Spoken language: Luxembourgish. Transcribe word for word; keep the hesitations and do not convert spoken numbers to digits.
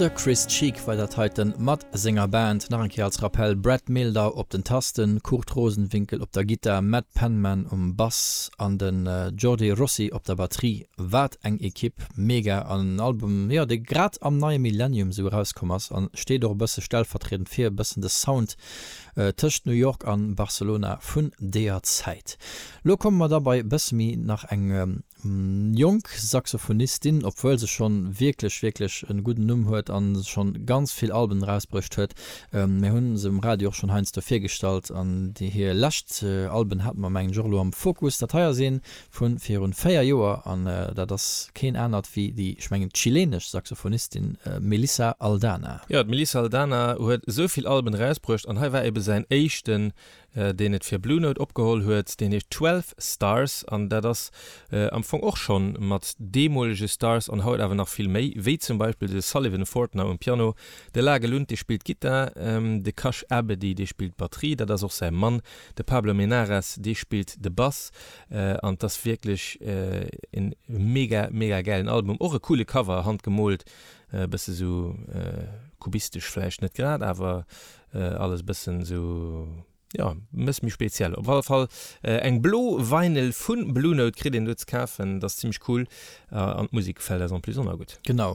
De Chris Cheek war dat heiten mat senger Band. Nach eng Kéier als Rappell, Brad Mehldau op den Tasten, Kurt Rosenwinkel op der Gittar, Matt Penman um Bass an den Jordi Rossy op der Batterie. Wat eng Ekipp, mega. An en Album, jo, dee grad am neie Millennium sou erauskomm ass an steet och e bësse stellvertriedend fir e bëssen de Sound tëscht New York an Barcelona vun deeër Zäit. Lo komme mer da bei e bësse méi nach eng jonk Saxophonistin, obwuel se schonn wierklech, wierklech e gudden Numm huet an schonn ganz vill Alben erausbruecht huet. Mir hunn se um Radio och schonn heiansdo virgestallt an déi hir lescht Alben hate mer mengen ech och elo am Fokus. Dat hei ass een vu virun véier Joer an dat ass keen anert wéi déi, ech mengen chilenesch Saxophonistin Melissa Aldana. Jo, d'Melissa Aldana huet esou vill Alben erausbruecht an hei war ebe säin éischten, deen et fir Blue Note opgeholl huet, deen heescht Twelve Stars an dat ass am Fong och schonn mat deemolege Stars an haut awer nach vill méi, wéi zum Beispill de Sullivan Fortner um Piano, de Lage Lund, dee spillt Gittar, de Kash Abedi, dee spillt Batterie, dat ass och säi Mann, de Pablo Menares, dee spillt de Bass an 't ass wierklech en mega, mega gäilen Album, och e coole Cover, handgemoolt, e bësse sou kubistesch vläicht net grad, awer alles e bëssen sou. Jo, e bësse méi speziell. Op alle Fall eng blo Vinyl vu Blue Note kritt een do ze kafen. Dat ass zimmlech cool an d'Musek gefält eis en plus och nach gutt. Genau.